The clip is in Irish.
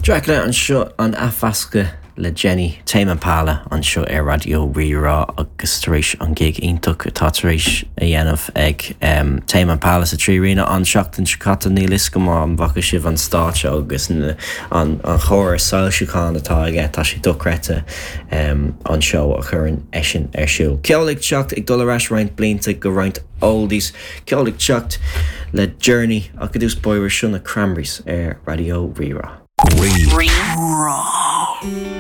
Dracula anseo an athmheascadh le Jenny, Tame Impala anseo ar Raidió Rí-Rá agus tar éis an gig iontach atá tar éis a dhéanamh ag Tame Impala sa 3Arena an seachtain seo caite níl fhios agam an bhfaca sibh an stáitse agus an chóras soilsiúcháin atá aige, tá sé dochreidte an seó a chuireann eisean ar siúl. Ceol ag teacht ag dul ar ais roinnt blianta go roinnt oldies, ceol ag teacht le Journey ach i dtús báire seo na Cranberries ar Raidió Rí-Rá. Rí-Rá.